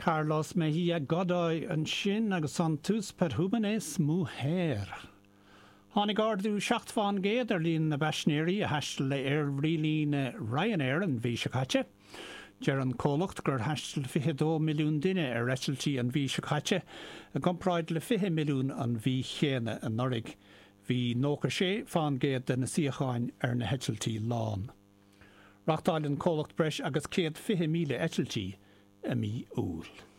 Carlos Mejía Godoy ansin agus an Tus Perfumes Mujer. Tháinig ardú 7 fán gcéad ar líon na bpaisinéirí a thaistil le aerlíne Ryanair an mhí seo caite. Deir an comhlacht gur thaistil 22 milliún duine ar eitiltí an mhí seo caite, i gcomparáid le 20 milliún an mhí chéanna anuraidh. Bhí 96 fán gcéad de na suíocháin ar na heitiltí lán. Reáchtáil an comhlacht breis agus 120,000 eitiltí i mí Iúil.